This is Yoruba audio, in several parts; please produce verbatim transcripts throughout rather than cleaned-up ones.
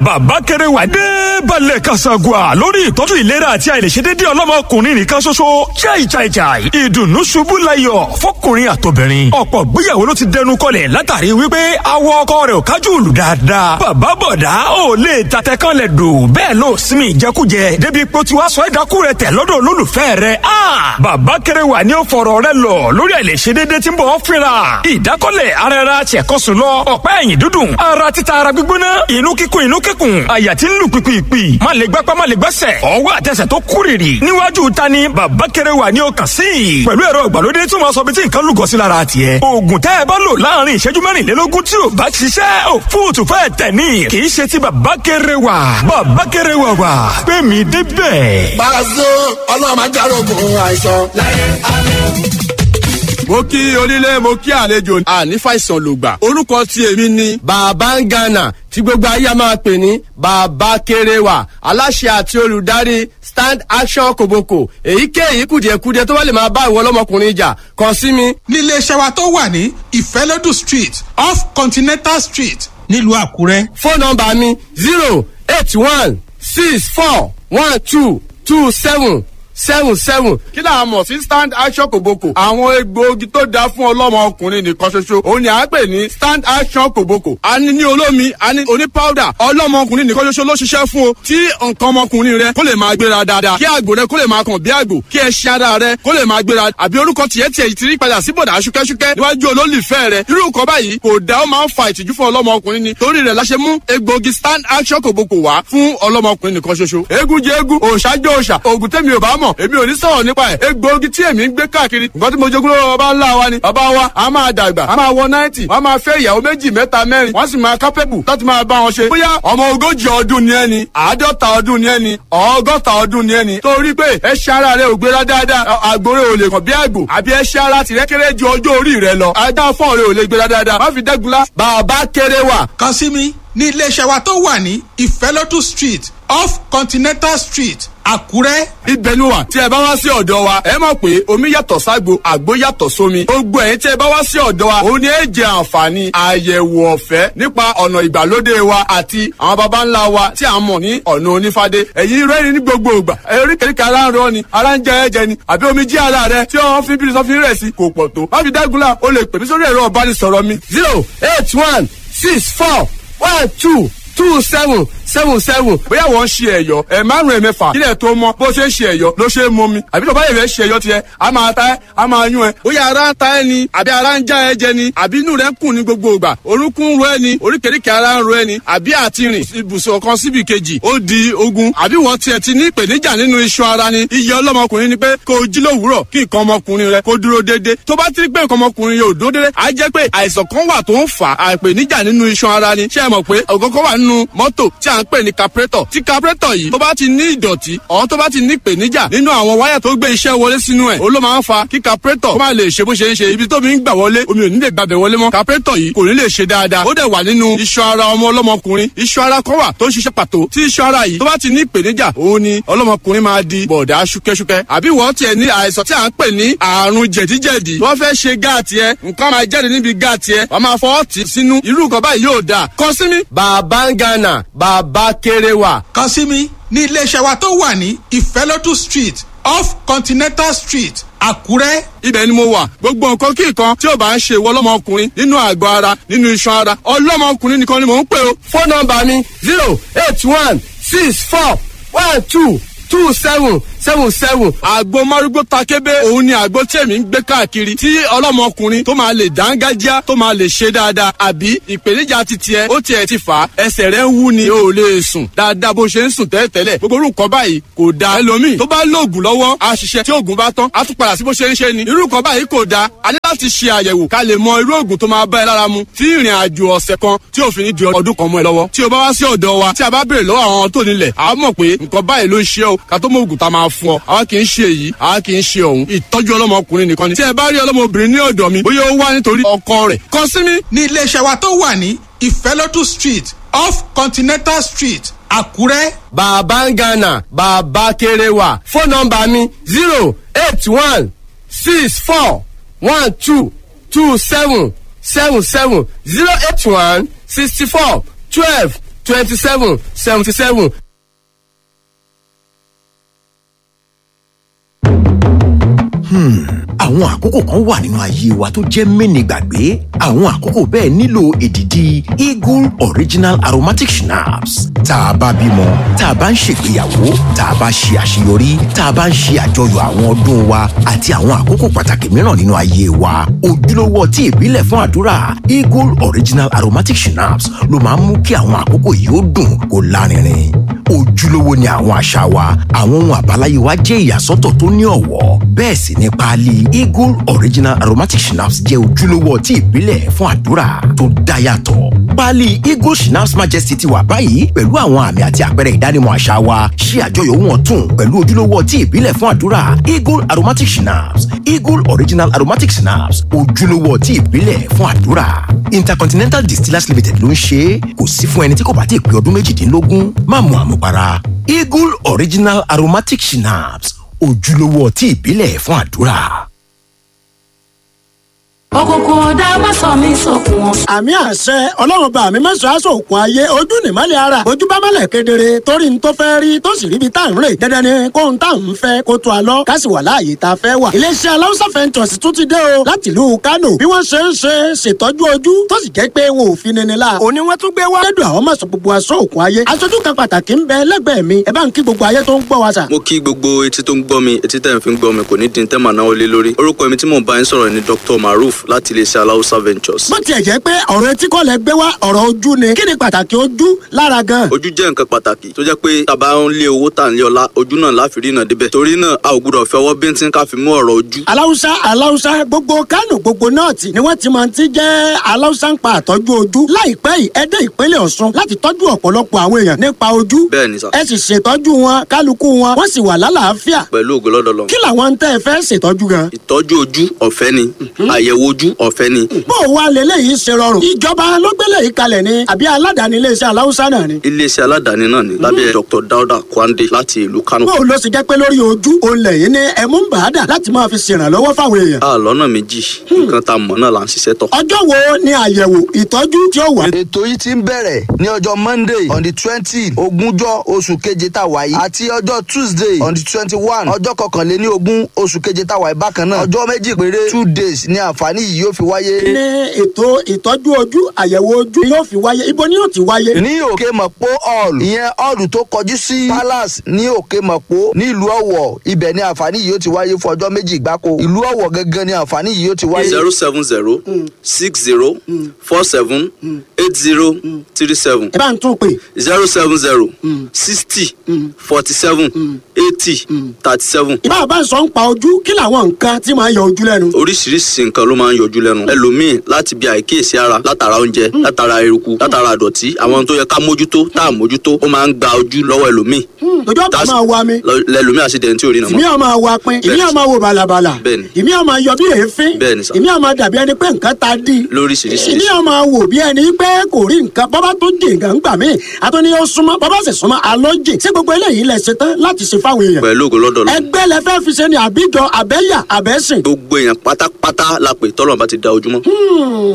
Bàbá Kẹrẹwà dé balẹ̀ kàṣàgùà lórí ìtọ́jú ìlera àti àìlèṣedédé ọlọ́mọkùnrin nìkan ṣoṣo. Chai chai chai, ìdùnnú ṣubú layọ̀ fọkùnrin àtobìnrin. Ọ̀pọ̀ gbéyàwó ló ti dẹnu kọlẹ̀ látàrí wípé awọ ọkọ rẹ̀ ò kájú òlù dáadáa. Bàbá bọ̀dá ò lè tatẹ kan lẹ̀ dò, bẹ́ẹ̀ ló sinmi ìjẹkújẹ débi pé ó ti wá sọ ẹ̀dákú rẹ̀ tẹ̀ lọ́dọ̀ olólùfẹ́ rẹ̀. A Bàbá Kẹrẹwà ni ó fọ̀rọ̀ rẹ̀ lọ lórí àìlèṣedédé tí ń bọ̀ fínra. Ìdákọ́lẹ̀ ara ẹra ṣẹ̀kọ́sùn lọ, ọ̀pá ẹ̀yìn dúdùn, ara títa, ara gbígbóná, inú kíkún, inú kíkún, àyà tí ń lù pìpìpì, má lè gbápá, má lè gbẹ́sẹ̀, ọwọ́ àtẹsẹ̀ tó kúrìrì. Níwájú ta ni Bàbá Kẹrẹwà ni ó kàn sí i pẹ̀lú ẹ̀rọ ìgbàlódé tí wọ́n sọ bí tí nǹkan lúgọ sí lára tiẹ̀. Oògùn tẹ́ ẹ bá lò láàrin ìṣẹ́jú mẹ́rìnlélógún tí ò bá ṣiṣẹ́, ò fóòtù fẹ́ tẹ̀ ní. Kì í ṣe ti Bàbá Kẹrẹwà. Bàbá Kẹrẹwà wà pé mi débẹ̀. Pàṣẹ Ọlọ́run máa járógun àìsàn láyé àmín. Mo kí onílé, mo kí àlejò, àní fàìsàn lògbà. Orúkọ tí èmi ni Bàbá ń Ghana, tí gbogbo ayé máa pè ní Bàbá Kérewà, aláṣẹ àti olùdarí Stand Action Koboko. Èyíkéyìí kùdìẹ̀kudiẹ tó bá lè máa bá ìwọ ọlọ́mọkùnrin jà, kàn sí mi. Nílé iṣẹ́ wa tó wà ní Ìfẹ́lódù Street, off Continental Street, nílùú Àkúrẹ́. Fóònù nọ́mbà mi zero eight one six four one two two seven seven seven. Kí là á mọ̀ sí Stand Action Kòbókò? Àwọn egbòogi tó dáa fún ọlọ́mọ ọkùnrin nìkan ṣoṣo òun ni à ń pè ní Stand Action Kòbókò. A ní ní olómi, a ní oní powder. Ọlọ́mọ ọkùnrin nìkan ṣoṣo ló ṣiṣẹ́ fún o, tí nǹkan ọmọkùnrin rẹ kó lè máa gbéra dáadáa, kí àgbò rẹ kó lè máa kàn bí àgbò, kí ẹṣin ara rẹ kó lè máa gbéra, àbí orúkọ tiẹ̀ tiẹ̀ ti rí padà sí bọ̀dà ṣúkẹ́ṣúkẹ́ níwájú olólùfẹ́ rẹ. Irú nǹkan báyìí kò dá, ó máa ń fa ìtìjú fún ọlọ́mọ ọkùnrin ni. Torí rẹ̀ la ṣe mú egbòogi Stand Action Kòbókò wá fún ọlọ́mọ ọkùnrin nìkan ṣoṣo. Eégún jẹ eégún, òòṣà jẹ òòṣà, òògùn tẹ́mi ò bá mọ̀, èmi ò ní sọ̀rọ̀ nípa ẹ̀. Egbòogi tí èmi ń gbé káàkiri, nǹkan tí mo jogún lọ́wọ́ bàbá ńlá wa ni. Bàbá wa a máa dàgbà, a máa wọ náìtì, wọ́n máa fẹ́ ìyàwó méjì, mẹ́ta, mẹ́rin, wọ́n sì máa kápẹ́bù láti máa bá wọn ṣe. Bóyá ọmọ ogójì ọdún ni ẹni, àádọ́ta ọdún ni ẹni, ọgọ́ta ọdún ni ẹni, torí pé ẹṣin ara rẹ ò gbéra dáadáa, àgbòrè ò lè kàn bí àgbò, àbí ẹṣin ara tìrẹ kéré ju ọjọ́ orí rẹ lọ, ajá fọ́ọ̀ rẹ ò lè gbéra dáadáa, má fi dẹ́gunlá. Bàbá Kérewà. Kàn sí mi ní iléeṣẹ́ wa tó wà ní Ìfẹ́lódù Street, off Continental Street, Àkúrẹ́. Ibẹ̀ ni wà. Tí ẹ bá wá sí ọ̀dọ̀ wa, ẹ mọ̀ pé omi yàtọ̀ ságbo, àgbo yàtọ̀ sómi. Gbogbo ẹ̀yin tí ẹ bá wá sí ọ̀dọ̀ wa, òun ni ẹ jẹ àǹfààní àyẹ̀wò ọ̀fẹ́ nípa ọ̀nà ìgbàlódé wa àti àwọn baba ńlá wa tí a mọ̀ ní ọ̀nà onífádé. Ẹ̀yin rẹ́rìn ní gbogbo ìgbà, oríkèéríkèé ara ń rọ ni, ara ń jẹ ẹ̀jẹ̀ ni, àbí omi jí ara rẹ tí wọ́n fi bí sọ́fin rẹ̀ sí kò pọ̀ tó. Má fi dágunlá, o lè pè mí sórí ẹ̀rọ ìbánisọ̀rọ̀ mi. zero eight one six four one two two seven seven seven. Bóyá wọ́n ń ṣe ẹ̀yọ́ ẹ̀ márùn-ún, ẹ̀mẹ́fà, kílẹ̀ tó mọ́, bó ṣe ń ṣe ẹ̀yọ́ ló ṣe é mú mi, àbí tó bá yẹ̀ fẹ́ ṣe ẹ̀yọ́ tiẹ̀, a máa ta ẹ́, a máa yún ẹ. Bóyá ara ń ta ẹ́ ni, àbí ara ń já ẹ jẹ ni, àbí inú rẹ ń kùn ní gbogbo ìgbà, orúnkún ń ro ẹ ni, oríkèéríkèé ara ń ro ẹ ni, àbí àti rìn ibùsùn kan síbi kejì ó di ogun, àbí wọ́n tiẹ̀ ti ní ìpèníjà nínú iṣan ara ni. Iye ọlọ́mọkùnrin ni pé kó o jí lówùúrọ̀ kí nǹkan ọmọkùnrin rẹ kó dúró déédéé. Tó bá ti rí pé nǹkan ọmọkùnrin yóò dúró déédéé, á jẹ́ pé àìsàn kan wà tó ń fà á ìpèníjà nínú iṣan ara ni. Ṣé ẹ mọ̀ pé ògógó wà nínú mọ́tò tí à ń pè ní carburetor? Tí carburetor yìí tó bá ti ní ìdọ̀tí ọ̀hún, tó bá ti ní ìpèníjà nínú àwọn wáyà tó gbé iṣẹ́ wọlé sínú ẹ̀, ó ló máa ń fa kí carburetor kó má lè ṣe bó ṣe ń ṣe. Ibi tó mi ń gbà wọlé, omi ò ní lè gbàbẹ̀ wọlé mọ́, carburetor yìí kò ní lè ṣe dáadáa. Ó dẹ̀ wà nínú iṣan ara ọmọ ọlọ́mọkùnrin. Iṣan ara kan wà tó ń ṣiṣẹ́ pàtó. Tí iṣan ara yìí tó bá ti ní ìpèníjà, òun ni ọlọ́mọkùnrin máa di bọ̀dá ṣúkẹ́ṣúkẹ́. Àbí wọ́n tiẹ̀ ní àìsàn tí à ń pè ní àrùn jẹ̀díjẹ̀dí, wọ́n fẹ́ ṣe gáàtì ẹ, nǹkan máa jáde níbi gáàtì ẹ, wọ́n máa fọwọ́ tì sínú. Irú nǹkan báyìí yóò dáa. Kàn sí mi. Bàbá ń Ghana, Bàbá Kérewà. Kàn sí mi ní iléeṣẹ́ wa tó wà ní Ìfẹ́lódù Street, off Continental Street, Àkúrẹ́. Ibẹ̀ ni mo wà. Gbogbo nǹkan kí nǹkan tí ò bá ń ṣe ìwọ ọlọ́mọkùnrin nínú àgọ́ ara, nínú iṣan ara, ọlọ́mọkùnrin nìkan ni mò ń pè o. Fóònù nọ́mbà mi zero eight one six four one two two seven seven seven. Àgbo márúgbó takébé, òun ni àgbo tí èmi ń gbé káàkiri, tí ọlọ́mọkùnrin tó máa lè dángájá, tó máa lè ṣe dáadáa. Àbí ìpèníjà ti tiẹ̀ ó tiẹ̀ ti fà á, ẹsẹ̀ rẹ̀ ń wú ni, o ò lè sùn dáadáa bó ṣe ń sùn tẹ́lẹ̀tẹ́lẹ̀. Gbogbo orú nǹkan báyìí kò dáa. Ẹlòmíì tó bá lóògùn lọ́wọ́ á ṣiṣẹ́, tí oògùn bá tán á tún padà sí bó ṣe ń ṣe ni. Irú nǹkan báyìí kò dáa. A ní láti ṣe àyẹ̀wò ká lè mọ irú oògùn tó máa bá ẹ lára mu, tí ìrìn àjò ọ̀sẹ̀ kan tí òfin ní di ọdún kan mọ́ ẹ lọ́wọ́. Tí o bá wá sí ọ̀dọ̀ wa, tí a bá béèrè lọ́wọ́ àwọn tó nílẹ̀, a mọ̀ pé nǹkan báyìí ló ń ṣe o, ká tó mọ oògùn tá a máa fún ọ. Àwa kì í ṣe èyí, àwa kì í ṣe ọ̀hún. Ìtọ́jú ọlọ́mọkùnrin nìkan ni. Tí ẹ bá rí ọlọ́mọbìnrin ní ọ̀dọ̀ mi, bóyá ó wá nítorí ọkọ rẹ̀, kàn sí mi. Ní iléeṣẹ́ wa tó wà ní Ìfẹ́lódù Street, off Continental Street, Àkúrẹ́. Bàbá ń Ghana, Bàbá Kérewà. Fóònù nọ́mbà mi zero eight one six four one two two seven seven seven, zero eight one sixty four twelve twenty seven seventy seven. Àwọn àkókò kan wà nínú ayé wa tó jẹ́ mẹ́ni gbàgbé. Àwọn àkókò bẹ́ẹ̀ nílò èdìdì Eagle Original Aromatic Schnapps. Tá a bá bímọ, tá a bá ń ṣègbéyàwó, tá a bá ṣe àṣeyọrí, tá a bá ń ṣe àjọyọ̀ àwọn ọdún wa àti àwọn àkókò pàtàkì mìíràn nínú ayé wa, ojúlówó ọtí ìbílẹ̀ fún àdúrà Eagle Original Aromatic Schnapps ló máa ń mú kí àwọn àkókò yìí ó dùn kó lárinrin. Ojúlówó ni àwọn àṣà wa, àwọn ohun àbáláyé wa jẹ́ ìyàsọ́tọ̀ tó ní ọ̀wọ́. Bẹ́ẹ̀ sì ni páálí Eagle Original Aromatic Schnapps jẹ́ ojúlówó ọtí ìbílẹ̀ fún àdúrà tó dá yàtọ̀. Páálí Eagle Schnapps Majesty ti wà báyìí pẹ̀lú àwọn àmì àti àpẹẹrẹ ìdánimọ̀ àṣà wa. Ṣe àjọyọ̀ ohun ọ̀tun pẹ̀lú ojúlówó ọtí ìbílẹ̀ fún àdúrà Eagle Aromatic Schnapps. Eagle Original Aromatic Schnapps, ojúlówó ọtí ìbílẹ̀ fún àdúrà. Intercontinental Distillers Limited ló ń ṣe é. Kò sí fún ẹni tí kò bá ti pé ọdún méjìdínlógún. Má mu àmupara. Eagle Original Aromatic Schnapps, ojúlówó ọtí ìbílẹ̀ fún àdúrà. Òkùnkùn ọ̀dà má sọ mí sókun ọ̀. Àmì àṣẹ Ọlọ́run bá mi mẹ́sàn-án aṣọ òkun ayé. Ojú nìmọ́lẹ̀ ara, ojú bá mọ́lẹ̀ kedere torí n tó fẹ́ rí tó sì ríbi tá à ń rè. Dandan ni kóhun tá à ń fẹ́ kó tó a lọ, ká sì wà láàyè tá a fẹ́ wà. Iléeṣẹ́ Aláùsá Ventures tún ti dé o láti ìlú Kánò. Bí wọ́n ṣe ń ṣe ṣètọ́jú ojú tó sì jẹ́ pé wọn ò fi nini la. Òní wọ́n tún gbé wá. Lẹ́dùn àwọn mọ̀sán gbogbo aṣọ òkun ayé. Aṣojú kan pàtàkì ń bẹ lẹ́gbẹ̀ẹ́ mi. Ẹ bá ń kí gbogbo ayé tó ń gbọ́ wa sà. Mo kí gbogbo etí tó ń gbọ́ mi, etí tẹ̀ ń fi ń gbọ́ mi kò ní dín tẹ́mà náà lé lórí. Orúkọ mi tí mò ń bá yín sọ̀rọ̀ ni Doctor Maruf láti iléeṣẹ́ Aláùsá Ventures. Bó tiẹ̀ jẹ́ pé ọ̀rọ̀ etí kọ́ lẹ gbé wá, ọ̀rọ̀ ojú ni, kí ni pàtàkì ojú lára gan? Ojú jẹ́ nǹkan pàtàkì tó jẹ́ pé tàbá ń lé owó, tà ń lé ọlá, ojú náà láfi rí náà débẹ̀. Torí náà a ò gbúdọ̀ fẹ́ ọwọ́ bíntín ká fi mú ọ̀rọ̀ ojú. Aláùsá, Aláùsá, gbogbo Kánò, gbogbo nọ́ọ̀tì ni wọ́n ti máa ti jẹ́ Aláùsá ń pa àtọ́jú ojú. Láìpẹ́ yìí ẹ dé ìpínlẹ̀ Ọ̀ṣun láti tọ́jú ọ̀pọ̀lọpọ̀ àwọn èèyàn nípa ojú. Bẹ́ẹ̀ ni sà. Ẹ sì ṣètọ́jú wọn, kálukú wọn wọ́n sì wà lálàáfíà. Pẹ̀lú ògo lọ́dọ̀ lọ. Kí làwọn tẹ́ ẹ fẹ́ ṣètọ́jú gan? Ìtọ́jú ojú ọ̀fẹ́ ni, àyẹ̀wò ojú ọ̀fẹ́ ni. Bó o wá leléyìí ṣe rọrùn? Ìjọba ló gbélé yìí kalẹ̀ ni àbí aládàáni iléeṣẹ́ Aláùsá náà ni? Iléeṣẹ́ aládàáni náà ni lábẹ́ Doctor Dauda Kwande láti ìlú Kano. Bó o lọ sì jẹ́ pé lórí ojú olè yìí ni ẹ̀mú ń bà á dà láti máa fi ṣèrànlọ́wọ́ fáwọn èèyàn? A lọ́nà méjì, nǹkan tá a mọ̀ náà là ń ṣiṣẹ́ tọ̀. Ọjọ́ wo ni àyẹ̀wò ìtọ́jú tí ó wà? Ètò yìí ti ń bẹ̀rẹ̀ ní ọjọ́ Monday on the twenty, ogúnjọ́ oṣù keje tá a wà yìí, àti ọjọ́ Tuesday on the twenty one, ọjọ́ kọkànléní ogún oṣù keje tá a wà yìí bákan náà. Ọjọ́ méjì péré, two days, ni àǹfààní yìí yóò fi wáyé. Ní ètò ìtọ́jú ojú, àyẹ̀wò ojú yóò fi wáyé, ibo ni yóò ti wáyé? Ní Òkè Mọ̀pó hall, ìyẹn hall tó kọjú sí palace ní Òkè Mọ̀pó nílùú Ọ̀wọ̀, ibẹ̀ ni àǹfààní yìí yóò ti wáyé fún ọjọ́ méjì gbáko. Ìlú Ọ̀wọ̀ gangan ni àǹfààní yìí yóò ti wáyé. Zero seven zero six zero four seven eight zero three seven. Ẹ bá ń tún pè. Zero seven zero sixty forty seven eighty thirty seven. Ìbá bá ń sọ ń pa ojú, kí làwọn nǹkan tí máa ń yọ ojú lẹ́nu? Oríṣiríṣi nǹkan ló máa ń yọjú lẹ́nu. Ẹlòmíì láti bí àìkíyèsí ara, látara oúnjẹ, látara eruku, látara àdọ̀tí, àwọn tó yẹ ká mójútó tá à mójútó, ó máa ń gba ojú lọ́wọ́ ẹlòmíì. Ojú ọ̀pá máa wa mi. Lẹlòmíì àṣìdẹ̀ntì ò rí nà mọ́. Ìmí ọ̀ máa wa pin, ìmí ọ̀ máa wo bàlàbàlà. Bẹ́ẹ̀ni. Ìmí ọ̀ máa yọ bí èéfín. Bẹ́ẹ̀ni sà. Ìmí ọ̀ máa dàbí ẹni pé nǹkan ta dí. Lóríṣiríṣi. Ìmí ọ̀ máa wò bí ẹni pé kò rí nǹkan. Bọ́bá tó jì nǹkan ń gbà mí, àtúní ó súnmọ́, bọ́bá sì súnmọ́ alọ́ jì. Ṣé gbogbo eléyìí lẹ ṣe tán láti ṣe fáwọn èèyàn? Pẹ̀lú ògo lọ́dọ̀ lọ. Ẹgbẹ́ lẹ fẹ́ fi ṣe ni àbíjọ, àbẹ́yà, àbẹ́sìn? Gbogbo èèyàn pátápátá la pè tọ́lọ̀ bá ti da ojúmọ́.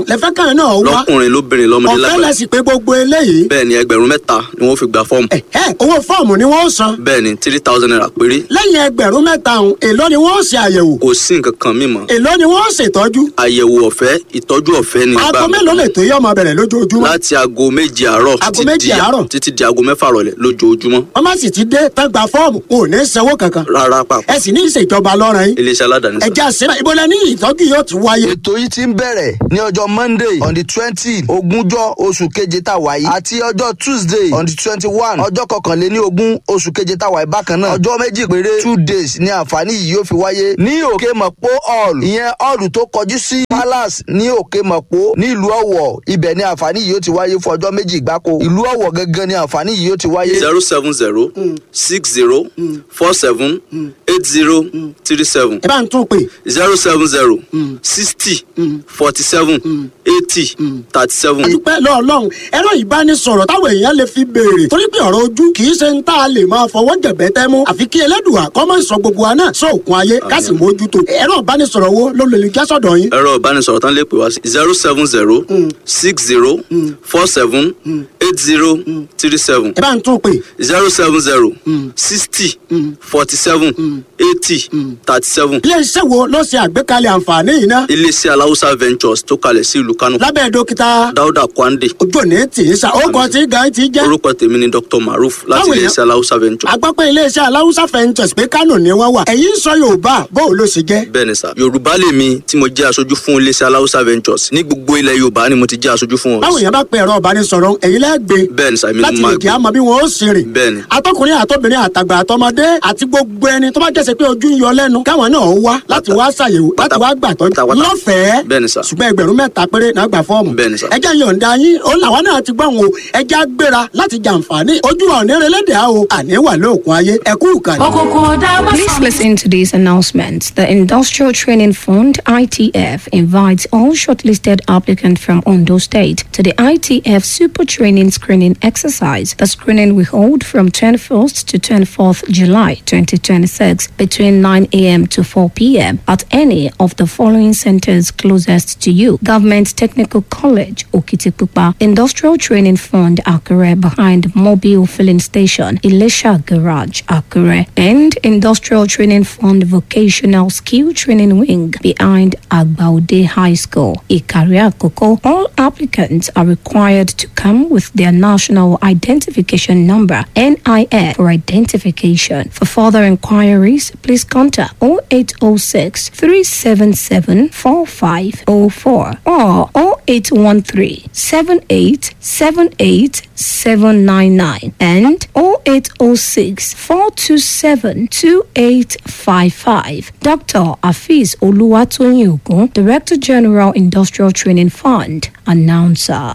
Lẹ fẹ́ kàn náà wá. Lọ́kùnrin, lóbìnrin, lọ́mọdé, Ọ̀fẹ́ lágbàá. lẹ sì pé gbogbo eléyìí? Bẹ́ẹ̀ ni, ẹgbẹ̀rún mẹ́ta ni wọ́n fi gba fọ́ọ̀mù. Ẹ owó fọ́ọ̀mù ni wọ́n san? Bẹ́ẹ̀ ni, three thousand naira péré. Lẹ́yìn ẹgbẹ̀rún mẹ́ta ọ̀hún, èló ni wọ́n ṣe àyẹ̀wò? Kò sí nǹkan kan mímọ́. Èló ni wọ́n ṣètọ́jú? Àyẹ̀wò ọ̀fẹ́, ìtọ́jú ọ̀fẹ́ ni. Aago mélòó lè tó yẹ ọmọ bẹ̀rẹ̀ lójoojúmọ́? Láti aago méje àárọ̀ Aago títí méje di àárọ̀. títí di aago mẹ́fà rọ̀lẹ́ lójoojúmọ́. Wọ́n má sì ti dé tán gba fọ́ọ̀mù, wọn ò ní sanwó kankan? Rárá pàpà. Ẹ sì ní ìṣèjọba lọ́rọ̀ yín. Iléeṣẹ́ aládàáni sà. Ẹ̀jẹ̀ àṣírà, ibo lẹ ní ìtọ́jú yóò ti wáyé? Ètò yìí ti ń bẹ̀rẹ̀ ní ọjọ́ Monday on the twenty, ogúnjọ́ oṣù keje tá a wà yìí, àti ọjọ́ Tuesday on the twenty one, ọjọ́ kọkànléní ogún oṣù keje tá a wà yìí bákan náà. Ọjọ́ méjì péré, two days, ni àǹfààní yìí yóò fi wáyé ní Òkè Mọ̀pó hall, ìyẹn hall tó kọjú sí palace ní Òkè Mọ̀pó nílùú Ọ̀wọ̀, ibẹ̀ ni àǹfààní yìí yóò ti wáyé fún ọjọ́ méjì gbáko. Ìlú Ọ̀wọ̀ gangan ni àǹfààní yìí yóò ti wáyé. Zero seven zero six zero four seven eight zero three seven. Ẹ bá ń tún pè. Zero seven zero sixty forty seven eighty thirty seven. Adúpẹ́ lọ́ọ̀lọ́run. Ẹ̀rọ ìbánisọ̀rọ̀ táwọn èèyàn lè fi béèrè, torí pé ọ̀rọ̀ ojú kì í ṣe ń tá a lè máa fọwọ́ jẹ̀bẹ́ tẹ́ mú, àfi kí Ẹlẹ́dùà kọ́ máa ń sọ gbogbo wa náà sóòkun ayé, ká sì mójútó. Ẹ̀rọ ìbánisọ̀rọ̀ wo ló lè já sọ̀dọ̀ yín? Ẹ̀rọ ìbánisọ̀rọ̀ tán lè pè wá sí zero seven zero six zero four seven eight eight zero three seven. Ẹ bá ń tún pè. zero seven zero sixty forty seven eighty thirty seven. Iléeṣẹ́ wo ló ṣe àgbékalẹ̀ àǹfààní yìí ná? Iléeṣẹ́ Aláwùsá Ventures tó kalẹ̀ sí ìlú Kánò. Lábẹ́ dókítà Dáúdà Kwande. Ojú òní tì í sa, ó kọ tí gan ti jẹ́. Orúkọ tèmi ni Doctor Maruf láti Báwo iléeṣẹ́ Aláwùsá Ventures. Agbọ́pẹ́ iléeṣẹ́ Aláwùsá Ventures pé Kánò ni wọ́n wà. Ẹ̀yin sọ Yorùbá, bó o ló ṣe jẹ́? Bẹ́ẹ̀ni sà, Yorùbá lèmi tí mo jẹ́ aṣojú fún iléeṣẹ́ Aláwùsá Ventures. Ní gbogbo ilẹ̀ Yorùbá ni mo ti jẹ́ aṣojú fún wọn. Báwo yẹn bá pe ẹ̀rọ ìbánisọ̀rọ̀, ẹ̀yin lẹ́gbẹ̀ẹ́ Bẹ́ẹ̀ni sà, èmi ni láti mo lè máa kí á mọ bí wọn ó sì rìn. Bẹ́ẹ̀ni. Atọkùnrin àtọbìnrin àtàgbà àtọmọdé àti gbogbo ẹni tó bá jẹ́sẹ̀ pé ojú ń yọ lẹ́nu, káwọn náà wá láti wá ṣàyẹ̀wò, láti wá gbàtọ́ lọ́fẹ̀ẹ́. Bẹ́ẹ̀ni sà. Ṣùgbọ́n ẹgbẹ̀rún mẹ́ta péré náà gbà fọ́ọ̀mù. Bẹ́ẹ̀ni sà. Ẹjẹ́ yọ̀ǹda yín, ó làwọn náà ti gbọ́n o, ẹjẹ́ á gbéra láti jàǹfààní. Ojú wa ò ní relé á o, àní wà lóògùn ayé, ẹ̀kú ìkànnì. Òkùnkùn ọ̀dà má Please listen to this announcement. The Industrial Training Fund I T F invites all shortlisted applicants from Ondo State to the I T F Super Training Screening Exercise. The screening will hold from twenty-first to twenty-fourth July twenty twenty-six between nine a m to four p m at any of the following centers closest to you: Government Technical College, Okitipupa, Industrial Training Fund, Akure, behind Mobile Filling Station, Elisha Garage, Akure, and Industrial Training Fund Vocational Skill Training Wing behind Agbaude High School, Ikaria Koko. All applicants are required to come with their national identification number, N I N, for identification. For further inquiries, please contact oh eight oh six, three seven seven, four five oh four or oh eight one three, seven eight seven eight seven nine nine and oh eight oh six, four two seven, two eight five five. Doctor Afeez Oluwatoyin Ogun, Director General, Industrial Training Fund, announcer.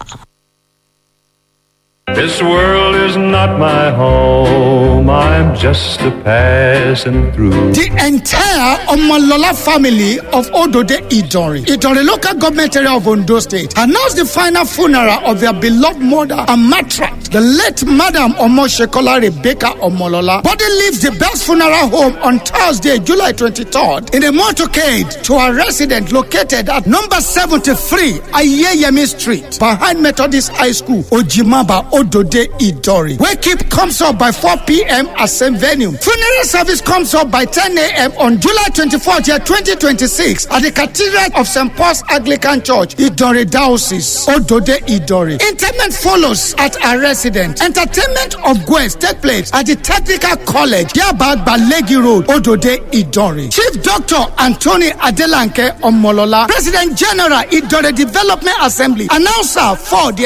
This world is not my home, I'm just a passing through. The entire Omolola family of Odode Idori, Idori local government area of Ondo State, announced the final funeral of their beloved mother and matriarch, the late Madam Omoshekola Rebecca Omolola. Body leaves the best funeral home on Thursday, July twenty-third, in a motorcade to a resident located at number seventy-three Ayeyemi Street, behind Methodist High School, Ojimaba, Odode Idori. Wake up comes up by four p m at same venue. Funeral service comes up by ten a m on July twenty-fourth, year twenty twenty-six, at the Cathedral of Saint Paul's Anglican Church, Idori Diocese, Odode Idori. Interment follows at our residence. Entertainment of guests take place at the Technical College, Yaba Balegi Road, Odode Idori. Chief Doctor Anthony Adelanke Omolola, President General, Idori Development Assembly, announcer for the